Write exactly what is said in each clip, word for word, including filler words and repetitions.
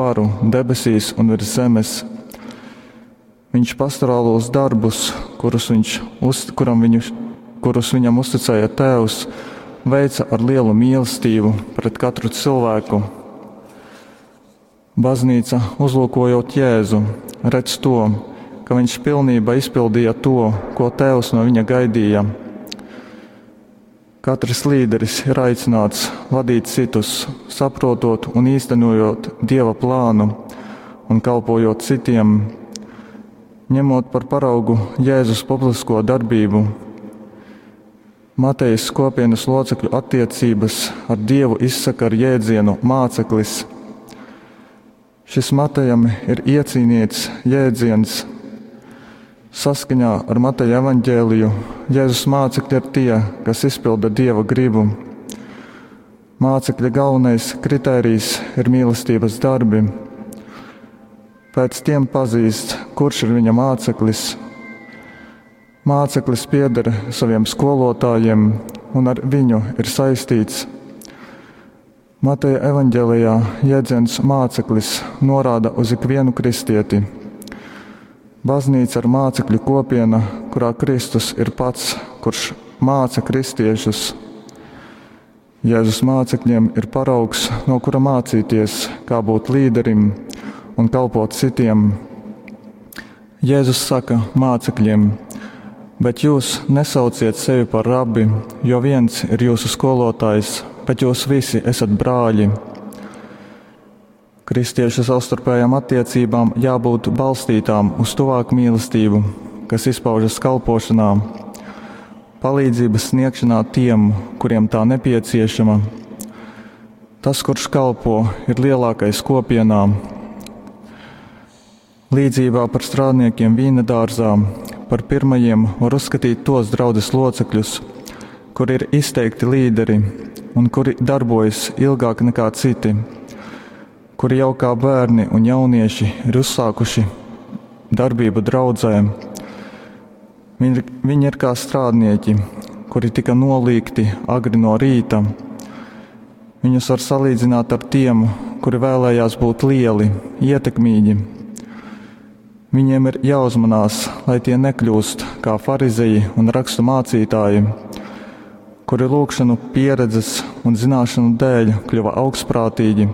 Varu debesīs un virs zemes. Viņš pastorālos darbus, kurus, viņš uz, kuram viņu, kurus viņam uzticēja Tēvs, veica ar lielu mīlestību pret katru cilvēku. Baznīca, uzlūkojot Jēzu, redz to, ka viņš pilnībā izpildīja to, ko Tēvs no viņa gaidīja. Katrs līderis ir aicināts vadīt citus, saprotot un īstenojot Dieva plānu un kalpojot citiem, ņemot par paraugu Jēzus publisko darbību. Matejas kopienas locekļu attiecības ar Dievu izsaka ar jēdzienu māceklis. Šis Matejam ir iecīnīts jēdziens. Saskaņā ar Mateja evaņģēliju Jēzus mācekļi ir tie, kas izpilda Dieva gribu. Mācekļa galvenais kritērijs ir mīlestības darbi. Pēc tiem pazīst, kurš ir viņa māceklis. Māceklis pieder saviem skolotājiem un ar viņu ir saistīts. Mateja evaņģēlijā jēdziens māceklis norāda uz ikvienu kristieti. Baznīca ir mācekļu kopiena, kurā Kristus ir pats, kurš māca kristiešus. Jēzus mācekļiem ir paraugs, no kura mācīties, kā būt līderim un kalpot citiem. Jēzus saka mācekļiem: bet jūs nesauciet sevi par rabi, jo viens ir jūsu skolotājs, bet jūs visi esat brāļi. Kristiešu savstarpējām attiecībām jābūt balstītām uz tuvāku mīlestību, kas izpaužas kalpošanā, palīdzības sniegšanā tiem, kuriem tā nepieciešama. Tas, kurš kalpo, ir lielākais kopienā. Līdzībā par strādniekiem vīna dārzā par pirmajiem var uzskatīt tos draudzes locekļus, kuri ir izteikti līderi un kuri darbojas ilgāk nekā citi, kuri jau kā bērni un jaunieši ir uzsākuši darbību draudzē. Viņi, viņi ir kā strādnieki, kuri tika nolīgti agri no rīta. Viņus var salīdzināt ar tiem, kuri vēlējās būt lieli, ietekmīgi. Viņiem ir jāuzmanās, lai tie nekļūst kā farizeji un rakstu mācītāji, kuri lūgšanu pieredzes un zināšanu dēļ kļuva augstprātīgi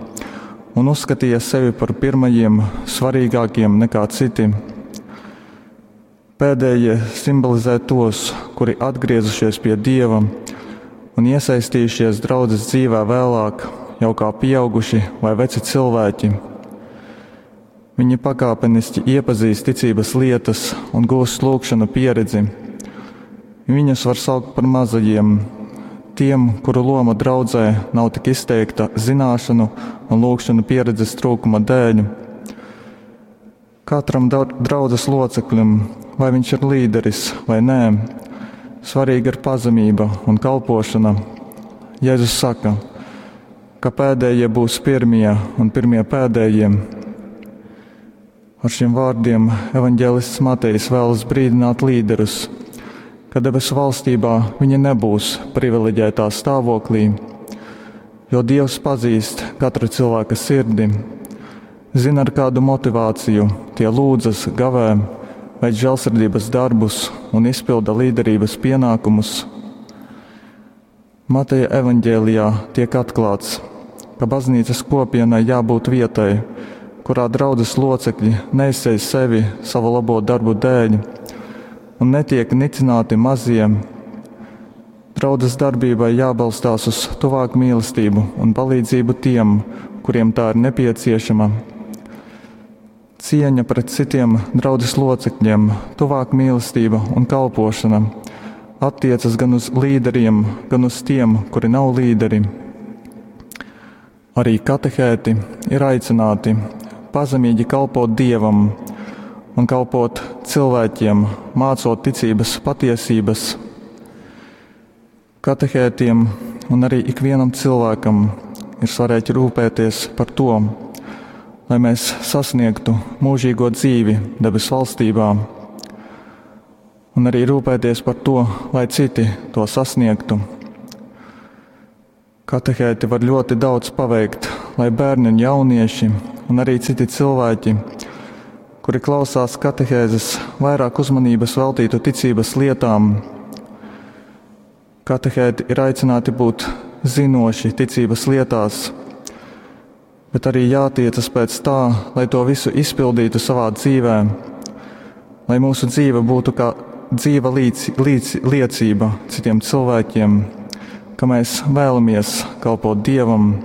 un uzskatīja sevi par pirmajiem, svarīgākiem nekā citi. Pēdējie simbolizē tos, kuri atgriezušies pie Dieva un iesaistījušies draudzes dzīvē vēlāk, jau kā pieauguši vai veci cilvēki. Viņi pakāpeniski iepazīst ticības lietas un gūst lūgšanu pieredzi. Viņus var saukt par mazajiem, tiem, kuru loma draudzē nav tik izteikta zināšanu un lūgšanu pieredzes trūkuma dēļ. Katram draudzes loceklim, vai viņš ir līderis vai nē, svarīga ir pazemība un kalpošana. Jēzus saka, ka pēdējie būs pirmie un pirmie pēdējie. Ar šiem vārdiem evaņģēlists Matejs vēlas brīdināt līderus, ka debesu valstībā viņi nebūs privileģētā stāvoklī, jo Dievs pazīst katra cilvēka sirdi, zina, ar kādu motivāciju tie lūdzas, gavē, veic žēlsirdības darbus un izpilda līderības pienākumus. Mateja evaņģēlijā tiek atklāts, ka baznīcas kopienai jābūt vietai, kurā draudzes locekļi neizceļ sevi savu labo darbu dēļ un netiek nicināti mazie. Draudzes darbībai jābalstās uz tuvāku mīlestību un palīdzību tiem, kuriem tā ir nepieciešama. Cieņa pret citiem draudzes locekļiem, tuvāka mīlestība un kalpošana attiecas gan uz līderiem, gan uz tiem, kuri nav līderi. Arī katehēti ir aicināti pazemīgi kalpot Dievam un kalpot cilvēkiem, mācot ticības patiesības. Katehētiem un arī ikvienam cilvēkam ir svarīgi rūpēties par to, lai mēs sasniegtu mūžīgo dzīvi debesu valstībā, un arī rūpēties par to, lai citi to sasniegtu. Katehēti var ļoti daudz paveikt, lai bērni un jaunieši un arī citi cilvēki, kuri klausās katehēzes, vairāk uzmanības veltītu ticības lietām. Katehēti ir aicināti būt zinoši ticības lietās, bet arī jātiecas pēc tā, lai to visu izpildītu savā dzīvē, lai mūsu dzīve būtu kā dzīva līdz, līdz, liecība citiem cilvēkiem, ka mēs vēlamies kalpot Dievam.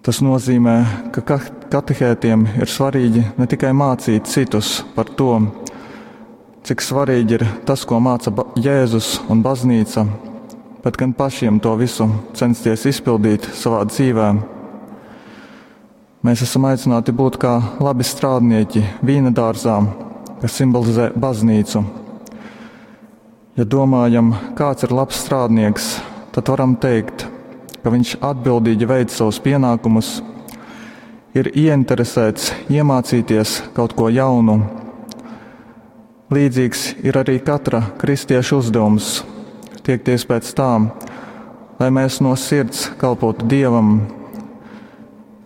Tas nozīmē, ka katehētiem ir svarīgi ne tikai mācīt citus par to, cik svarīgi ir tas, ko māca Jēzus un baznīca, bet gan pašiem to visu censties izpildīt savā dzīvē. Mēs esam aicināti būt kā labi strādnieki vīna dārzā, kas simbolizē baznīcu. Ja domājam, kāds ir labs strādnieks, tad varam teikt, ka viņš atbildīgi veic savus pienākumus, ir ieinteresēts iemācīties kaut ko jaunu. Līdzīgs ir arī katra kristieša uzdevums - tiekties pēc tā, lai mēs no sirds kalpotu Dievam.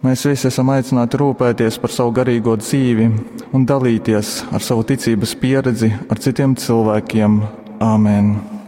Mēs visi esam aicināti rūpēties par savu garīgo dzīvi un dalīties ar savu ticības pieredzi ar citiem cilvēkiem. Āmen!